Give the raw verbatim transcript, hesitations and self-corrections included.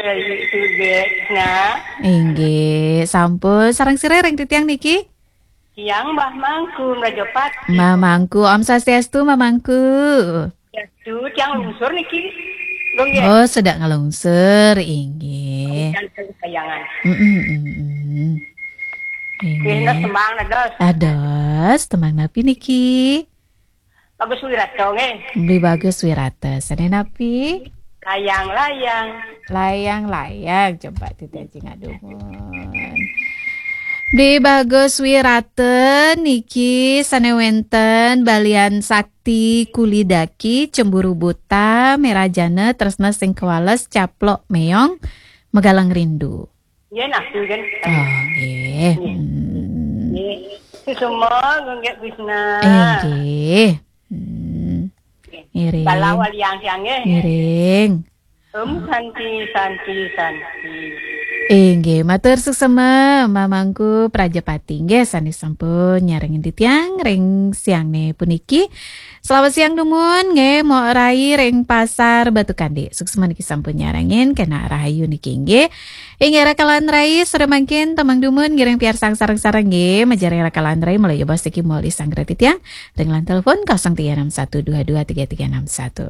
Suge, nah. Inggih, sampun. Sareng sira ring titiang niki? Tiang Mbah Mangku Mrajapati. Mamangku, Om Swastiastu, Mamangku. Duh, tiang lungsur niki. Lho nggih. Oh, sedek ngelungsur, inggih. Tiang kayangan. Mm-mm, mm-mm. Nggih, nah, Inggih. tembang dados. Dados, tembang napi niki? Bagus Wirata nggih. Beli Bagus Wirata, sane napi? Layang-layang. Layang-layang, coba titiang ngadumun. Beli Bagus Wirata niki sane wenten Balian Sakti, Kulidaki, Cemburu Buta, Merajana, Tresna Sing Kewales, Caplok Meong, Megalang Rindu. Nggih, nah, nggih. Oh, nggih. Hmm. Nggih. Susuma nggih Krishna. Inggih. Hmm. Ngiring. Balawa liang tiang nggih. Ngiring. Om Santi, Santi, Santi. Inggih, matur suksema Mamangku Prajapati nggih sane sampun nyarengin titiang ring siangne puniki. Selamat siang dumun nggih, Mok Rai ring Pasar Batu Kande. Suksema niki sampun nyarengin, kena rahayu niki nggih. Inggih rakalan rai, sore mangkin tembang dumun ngiring piarsang sareng-sareng nggih. Majaring rakalan rai, mulai jebos niki muli sanggra titiang. Ring line telepon kosong tiga enam satu dua dua tiga tiga enam satu.